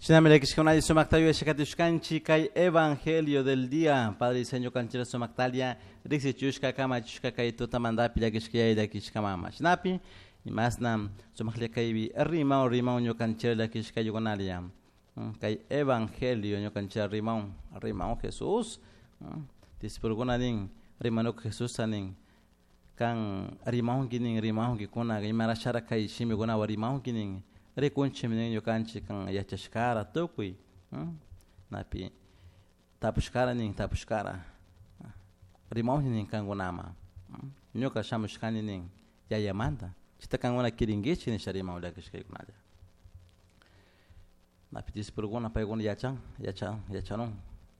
Shinami llakishkakunalla sumakta yuyashkatishkanchik kay evangelio del día. Padre y Señor kanchira sumaktalia riksichushka kamachushka kay tutamantapi llakishkayay llakishka mama. Shinapi imasna sumaklla kaypi rimaw rimaw ñukanchira llakishkayukunalla. Kay evangelio ñukanchira rimaw rimaw Jesús. Discipulokuna nin rimanuka Jesusta nin kan rimawnki nin rimawnki kuna imarashara kay shimikunawan rimawnki nin rikunchikmi nin ñukanchik kan yachashkara tukuy napi tapushkara nin tapushkara rimawni nin kankunama ñuka shamushkani nin yayamanta chayta kankuna kirinkichik nisha rimaw llakishkaykunalla napi discipulokuna paykuna yachan yachan yachanun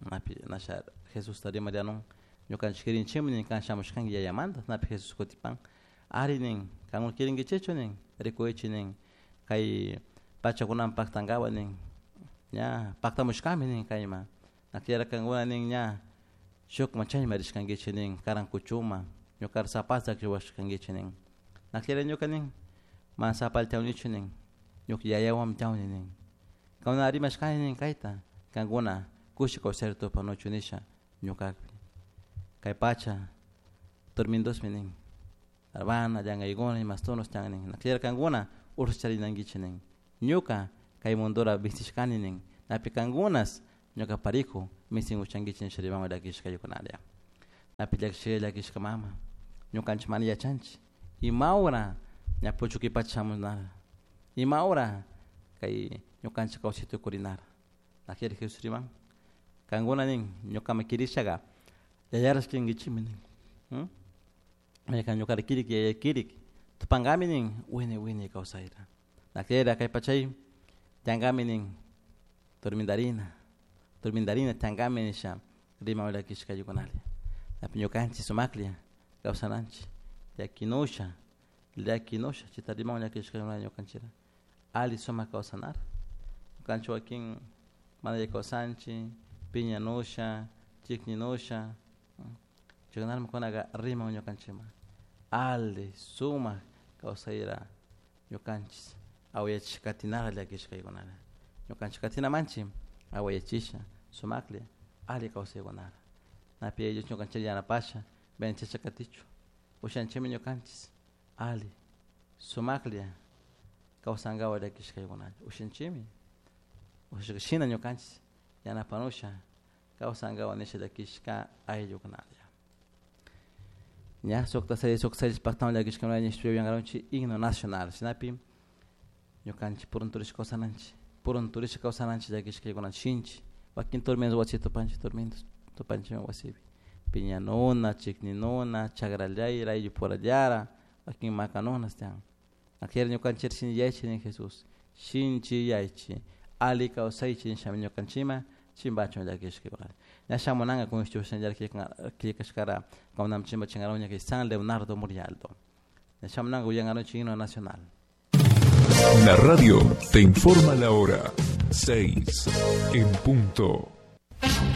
napi nasha Jesusta rimarianun ñukanchik kirinchikmi nin kan shamushkanki yayamanta napi Jesús kutipan ari nin kankuna kirinkichikchu nin rikuychik nin kay pachakunaman paktankawa nin ña paktamushkami nin kayman nakllera kankuna nin ña shukman chayman rishkankichik nin karan kuchuma ñukara sapata riwashkankichik nin nakllera ñuka nin mana sapalla tiyawnichu nin ñuka yayawanmi tiyawni nin kankuna rimashkani nin kayta kankuna kushi kawsayta tupanuchu nisha ñukakpi kay pacha tormentosmi nin arbana llankaykuna imastunos tiyan nin nakllera kankuna ursa charinankichik nin ñuka kay mundura vincishkani nin napi kankunas ñuka parijo misin uchankichik nisha rimanwan llakishkaykunalla napi llakishka llakishka mama ñukanchik mana yachanchik imawra ña puchukuy pacha shamunara imawra kay ñukanchik kawsay tukurinara nakllera Jesús riman kankuna nin ñukaman kirishaga yayarash kirinkichikmi nin maykan ñukara kirik yaya kirik tupankami nin wiñay wiñay kawsayta nakllera kay pachay tiyankami nin tormentarina tormentarina tiyankami nisha riman llakishkaykunalla napi ñukanchik sumaklla kawsananchik llakinusha llakinusha chayta riman llakishkaykunalla ñukanchikra alli sumak kawsanara ñukanchik wakin mana alli kawsanchik piñanusha chikninusha chaykunami kunaka riman ñukanchikman alli sumak kawsayra ñukanchik awayachishka katinara llakishkaykunala ñukanchik katinamanchik awayachisha sumaklla alli kawsaykunara napi Yaya Dios ñukanchik yanapasha venchisha katichu ushanchikmi ñukanchik alli sumaklla kawsankawa llakishkaykunalla ushanchikmi ushashka shina ñukanchik yanapanusha kawsankawa nisha llakishka ayllukunalla ña sukta seis sukta seis paktawan llakishkakunalla nishpa yuyankarunchik himno nacional shinapi ñukanchik purunturishka kawsananchik purunturishka kawsananchik llakishkaykuna shinchi wakin tormentos wasi tupanchik tormentos tupanchikmi wasipi piñanuna chikninuna chakrallayra ayllupurallara wakin makanunas tiyan akllera ñukanchik shinchiyaychik nin Jesús shinchiyaychik alli kawsaychik nishami ñukanchikman chimbachun llakishkaykunalla ña shamunanka constitución killkashkara kawnam chimbachinkaruña kay San Leonardo Murialdo ña shamunanka uyankarunchik himno nacional. La radio te informa la hora 6 en punto.